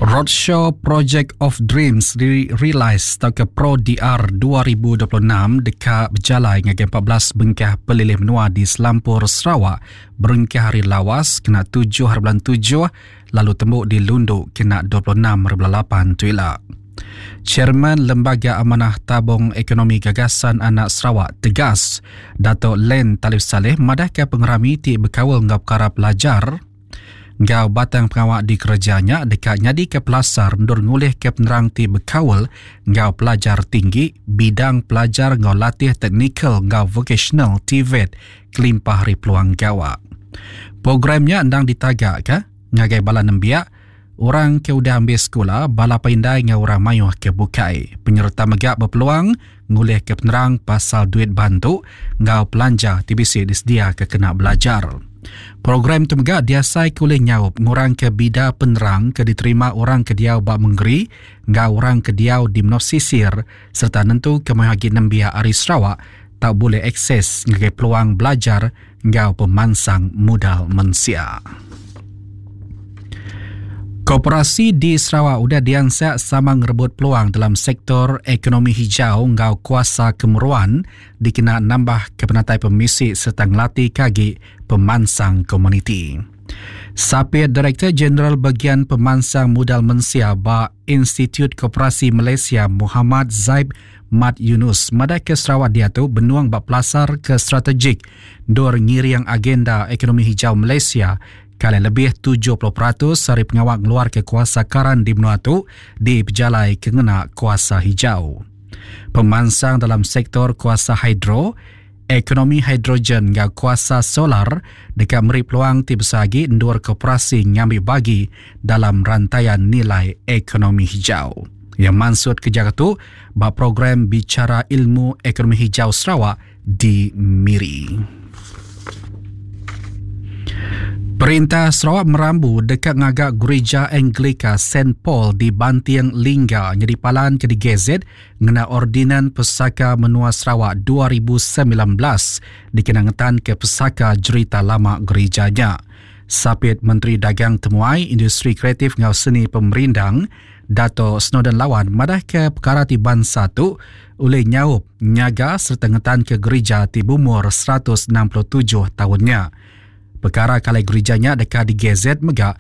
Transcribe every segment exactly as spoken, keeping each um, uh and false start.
Roadshow Project of Dreams Realized tauka Pro-D R dua ribu dua puluh enam deka bejalai ngagai empat belas bengkah pelilih menua di selampur Sarawak berengkah hari Lawas kena tujuh hari bulan tujuh lalu tembu di Lundu kena dua puluh enam hari bulan lapan tu ila. Chairman Lembaga Amanah Tabung Ekonomi Gagasan Anak Sarawak Tegas, Dato' Len Talif Salleh madahka pengerami ti bekaul enggau perkara pelajar enggau batang pengawa dikerejanya deka nyadi ke pelasar endur ngulih ke penerang ti bekaul enggau pelajar tinggi, bidang pelajar enggau latih teknikal enggau vokasional T V E T kelimpah hari peluang gawa. Programnya endang ditagak ke ngagai bala nembiak, orang ke udah ambil sekolah, bala pandai enggau orang mayuh ke bukai. Penyerta mega berpeluang ngulih ke penerang pasal duit bantu enggau pelanja T B C disedia ke kena belajar. Program tu mega diasai ke ulih nyaup ngurang ke bida penerang ke diterima orang ke diau ba mengeri enggau orang ke diau di menua sisir serta nentu ke mayuh agi nembiak ari Sarawak tak boleh akses ngagai peluang belajar enggau pemansang modal mensia. Koperasi di Sarawak udah diansak sama ngerebut peluang dalam sektor ekonomi hijau enggau kuasa kemeruan dikena nambah ke penatai pemisi serta ngelatih kagi pemansang komuniti. Sapit Direktor Jeneral Bagian Pemansang Modal Mensia ba Institut Koperasi Malaysia, Muhammad Zaib Mat Yunus, madah ke Sarawak diatu benuang ba pelasar ke strategik dor ngiring agenda ekonomi hijau Malaysia kali lebih tujuh puluh peratus hari pengawal ngeluar ke kuasa karan di menua tu di pejalai kena kuasa hijau. Pemansang dalam sektor kuasa hidro, ekonomi hidrogen enggau kuasa solar dekat meri peluang ti besar lagi endur koperasi ngambil bagi dalam rantaian nilai ekonomi hijau. Yang maksud kerja tu ba program Bicara Ilmu Ekonomi Hijau Sarawak di Miri. Perintah Sarawak merambu dekat ngagak Gereja Anglika Saint Paul di Banting Lingga jadi palan ke digazet ngena Ordinan Pesaka Menua Sarawak dua ribu semilan belas dikenangetan ke pesaka cerita lama gerejanya. Sapit Menteri Dagang Temuai, Industri Kreatif ngau Seni Pemerindang, Dato Snowdan Lawan madah ke perkara ti bangsa tu oleh nyaup nyaga serta ngetan ke gereja ti berumur seratus enam puluh tujuh tahunnya. Perkara kali gerejanya dekat di gazet mega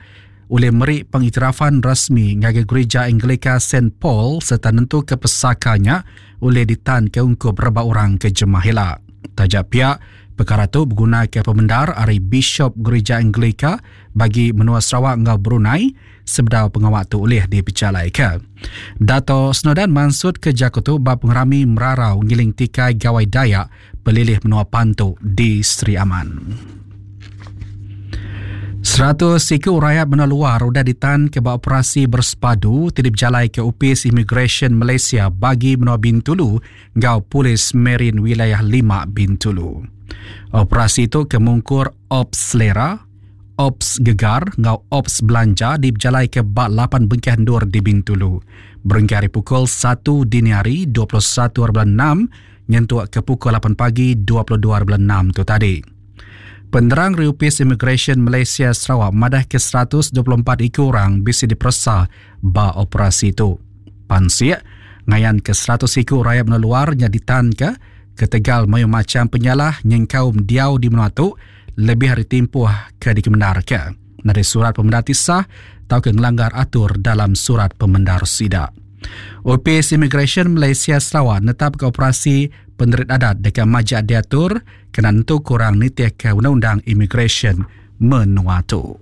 oleh meri pengiktirafan rasmi ngagai Gereja Anglika Saint Paul serta nentu ke pesakanya oleh ditan ke ungkup rebak orang ke jemahila. Tajak pihak perkara tu berguna ke pemendar ari Bishop Gereja Anglika bagi menua Sarawak ngau Brunei sebedau pengawal tu oleh dipercalai ke. Dato Snowdan mansut ke Jakotu bab pengerami merarau ngiling tikai Gawai Dayak pelilih menua Pantu di Sri Aman. Seratus siku rakyat menua luar sudah ditan ke operasi bersepadu tidak berjalai ke Upis Immigration Malaysia bagi menua Bintulu ngau Polis Marine Wilayah lima Bintulu. Operasi itu kemungkur Ops Selera, Ops Gegar ngau Ops Belanja di berjalai ke bak lapan bengkah ndur di Bintulu. Berengkah hari pukul satu dini hari dua puluh satu enam nyentuk ke pukul lapan pagi dua puluh dua enam tu tadi. Penerang Riupis Immigration Malaysia Sarawak madah ke seratus dua puluh empat iku orang bisa diperiksa ba operasi itu. Pansik ngayan ke seratus iku rakyat menua luarnya ditan ke ketegal mayu macam penyalah nyengkaum diau di menua tu lebih hari timpuh ke dikemenar ke. Nari surat pemendar tisah atau ke ngelanggar atur dalam surat pemendar sidak. Opis Immigration Malaysia Sarawak netap ke operasi penerit adat dekat majak diatur kena nentu kurang nitih ke undang-undang immigration menua tu.